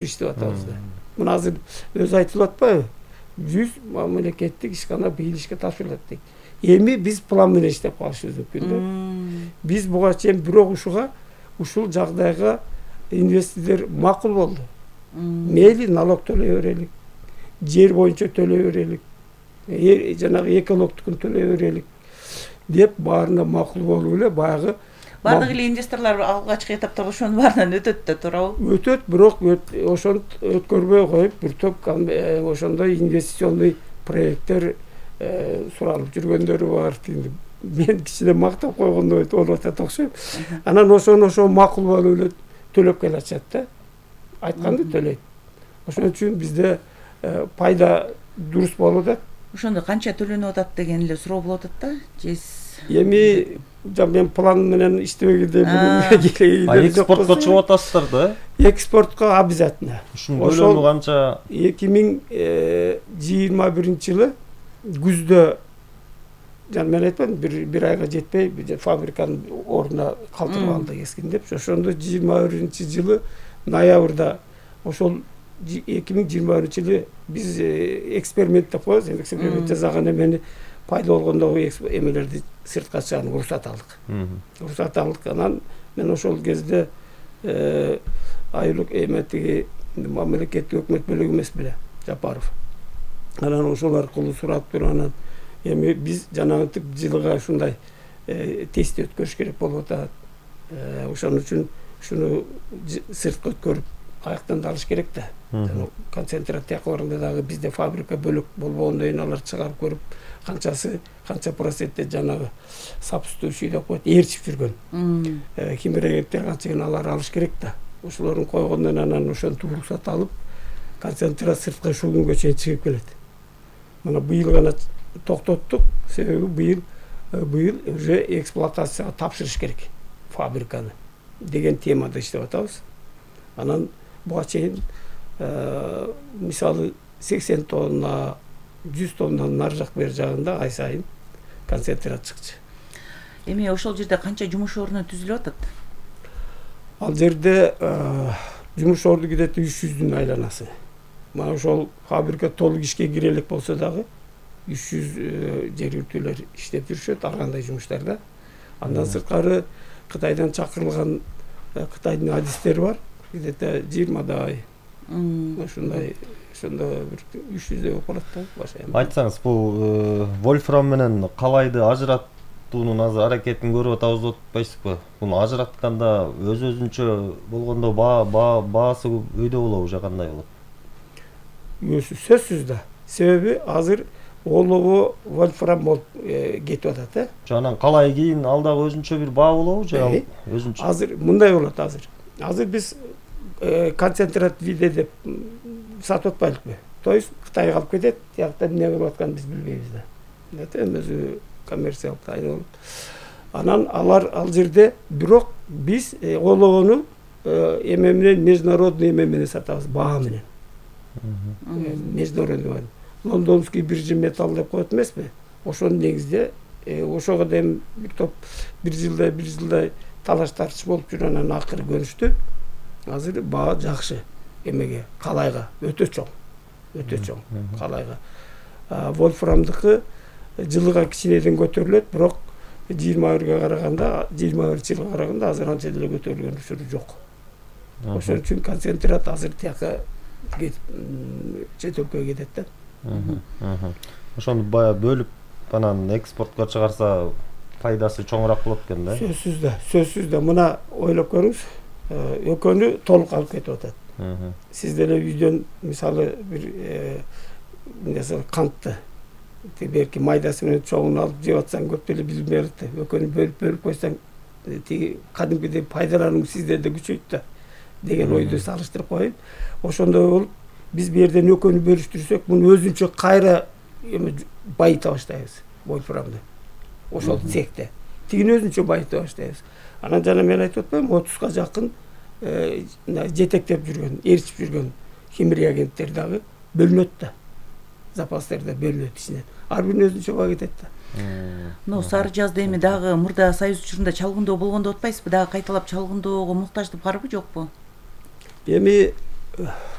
иштеп атабыз да. Мына азыр өзү айтылып атпайбы? 100 мамлекеттик ишкана быйыл ишке тапшырылат дейт. Эми биз план менен иштеп калышыбыз мүмкүн да. Биз буга чейин бирок ушул жагдайга инвесторлор макул болду. Мейли налог төлөй берелик, жер боюнча төлөй берелик, жанагы экологтукун төлөй берелик деп баарына макул болуп эле баягы бардык эле инвесторлор алгачкы этапта ошонун баарынан өтөт да туурабы? Өтөт, бирок ошону өткөрбөй коюп, бир топ ошондой инвестиционный проекттер суралып жүргөндөрү бар. Мен кичине мактап койгондой болуп атат окшойм. Анан ошо макул болуп эле төлөп келатышат да. Айтканды төлөйт. Ошон үчүн бизде пайда дурус болуп атат. Ошондо канча төлөнүп атат деген эле суроо болуп атат да. Эми мен план менен иштебегенде экспортко чыгып атасыздар да? Экспортко обязательно. Ушунун көлөмү канча? 2021-жылы күздө мен айтпадым, бир айга жетпей фабриканын ордуна калтырып алды эскин деп. Ошондо 21-жылы ноябрда ошол 2021-жылы биз эксперимент деп коебуз. Эксперимент жасаган эмени пайда болгондогу эмелерди сыртка чыгарууга уруксат алдык. Уруксат алдык. Анан мен ошол кезде айылык эметиги мамлекеттик өкмөт бөлүгү эмес беле, Жапаров. Анан ошол аркылуу сурап туруп анан эми биз жанагынтип жылга ушундай тест өткөрүш керек болуп атат. Ошон үчүн ушуну сыртка өткөрүп каяктан да алыш керек да. Концентрат тиякаларында дагы бизде фабрика бөлөк болбогондон кийин алар чыгарып көрүп канча процентте жанагы сапустующий деп коет, ээрчип жүргөн. Химрегенттер канча алар алыш керек да. Ошолорун койгондон анан ошентип уруксат алып, концентрат сыртка ушул күнгө чейин чыгып келет. Мына быйыл гана токтоттук, себеби быйыл уже эксплуатацияга тапшырыш керек фабриканы деген темада иштеп атабыз. Анан буга чейин мисалы 80 тонна, 100 тоннанын нары жак бери жагында ай сайын концентрат чыкчу. Эми ошол жерде канча жумуш орну түзүлүп атат? Ал жерде жумуш орду где-то 300-дүн айланасы. Мына ошол фабрика толук ишке кире элек болсо дагы 300 жергиликтүүлөр иштеп жүрүшөт ар кандай жумуштарда. Андан сырткары Кытайдан чакырылган Кытайдын адистери бар. Где-то 20 ошондой бир 300 болуп калат да башка. Айтсаңыз, бул вольфрам менен калайды ажыраттуунун азыр аракетин көрүп атабыз деп атпайсызбы? Буну ажыратканда өзүнчө болгондо баасы өйдө болобу же кандай болот? Сөзсүз да. Себеби азыр олобу вольфрам болуп кетип атат, Жанан калай кийин ал дагы өзүнчө бир баа болобу же өзүнчө? Азыр мындай болот азыр. Азыр биз концентрат виде деп сатып атпайлыкпы? То есть Кытайга алып кетет, тиякта эмне кылып атканын биз билбейбиз да. Өзү коммерциялык тайын болот. Анан ал жерде бирок биз олобону эме менен международный эме менен сатабыз, баа менен. Международный лондонский биржа металл деп коет эмеспи? Ошонун негизде ошого дем бир топ бир жылдай талаш тартыш болуп жүрүп анан акыры көнүштү. Азыр баа жакшы эмеге, калайга өтө чоң калайга. Вольфрамдыкы жылга кичинеден көтөрүлөт, бирок 21 жылга караганда азыр анча деле көтөрүлгөн учуру жок. Ошон үчүн концентрат азыр тияка чет өлкөгө кетет да. Ошону бая бөлүп анан экспортко чыгарса пайдасы чоңураак болот экен да? Сөзсүз да. Мына ойлоп көрүңүз, экөөнү толук алып кетип атат. Сиз деле үйдөн мисалы бир кантты берки майдасы менен чоңун алып жеп атсаң көп деле билинбей калат да. Экөөнү бөлүп койсоң тиги кадимкидей пайдалануу сиздерде күчөйт да деген ойду салыштырып коеюн. Ошондой болуп биз бу жерден экөөнү бөлүштүрсөк, муну өзүнчө кайра байыта баштайбыз вольфрамды. Ошол цехте. Тигини өзүнчө байыта баштайбыз. Анан жана мен айтып атпаймынбы, 30га жакын жетектеп жүргөн, ээрчип жүргөн химреагенттер дагы бөлүнөт да. Запастарда бөлүнөт ичинен. Ар биринин өзүнчө баа кетет да. Но сары жазда эми дагы мурда Союз учурунда чалгындоо болгон деп атпайсызбы? Дагы кайталап чалгындоого муктаждык барбы, жокпу? Эми